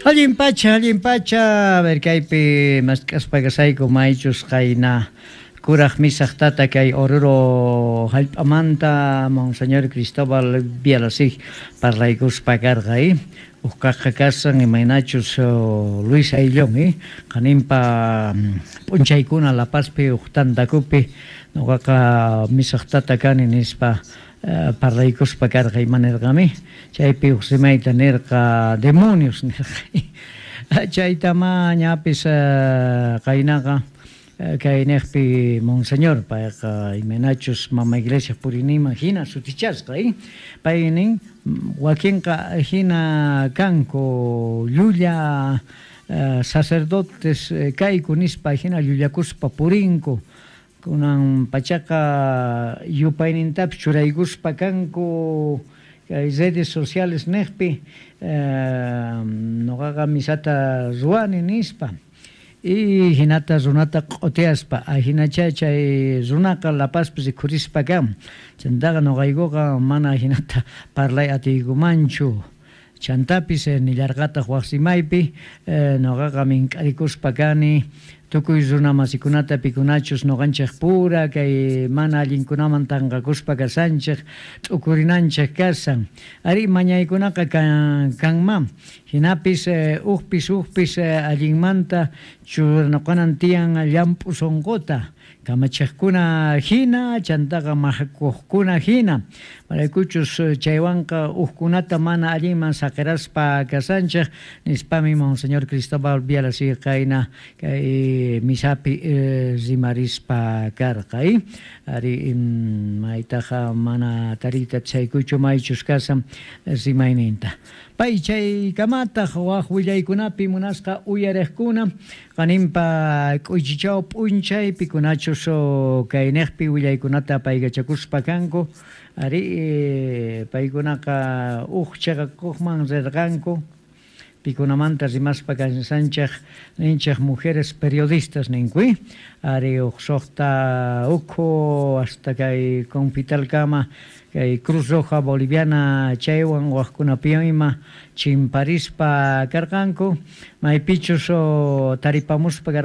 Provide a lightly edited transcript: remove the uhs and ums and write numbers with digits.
Allin pacha, allin pacha. A ver, kaypi mask'aspa kasayku maychus qayna kuraq misaq tata kay Oruro hallp'amanta Monseñor Cristóbal Bialasig parlaykuspa karqa, Huk kaqqa kasan imaynachus Luis Ayllón, qaninpa p'unchaykuna La Pazpi huk tantakupi nuqaqa misaq tata kani nispa parlaykuspa karqa. Ima nirqami chaypi huk rimayta nirqa, demonios nirqa. Chaytamá ñapis qaynaqa kay niqpi Monseñor payqa imaynachus mama iglesia puriyninman hina sutichasqa, pay nin wakinqa hina kanku llulla sacerdotes kayku nispa hina llullakuspa purinku, kunan pachaqa yupaynintapis churaykuspa kanku kay redes sociales niqpi, nuqaqa misata ruwani nispa y hinata runata q'utiyaspa, ahinacha chay runaqa La Pazpi rikhurispa kan. Chantaqa nuqaykuqa mana hinata parlay atiykumanchu. Chantapis nillarqataq wak rimaypi, nuqaqa mink'arikuspa kani tukuy runa masikunata pikunachus nuqanchik pura kay mana allinkunaman tanqakuspa kasanchik, t'ukurinanchik kasan. Ari, mañaykunaqa kanman, hinapis hukpis hukpis allinmanta churanakunan tiyan llamp'u sunquta, kamachiqkuna hina, chantaqa mahakuqkuna hina, maraykuchus chaywanqa hukkunata mana allinman saqiraspa kasanchik nispami Monseñor Cristóbal Bialasig qayna kay misapi rimarispa karqa. Ari, maytaqa mana tariyta atisaykuchu maychus kasan rimayninta. Pay chaykamataq wak willaykunapi munasqa uyariqkuna qaninpa k'uychichaw p'unchay pikunachus kayniqpi willaykunata paykachakuspa kanku, ari, paykunaqa huk chiqakuqman rirqanku, pikunamanta rimaspa kansanchik ninchik mujeres periodistas ninku, ari, huk suqta ukhu hasta kay Confitalkama kay Cruz Roja Boliviana chaywan wakkunapiwan ima chimparispa karqanku, maypichus taripamuspa.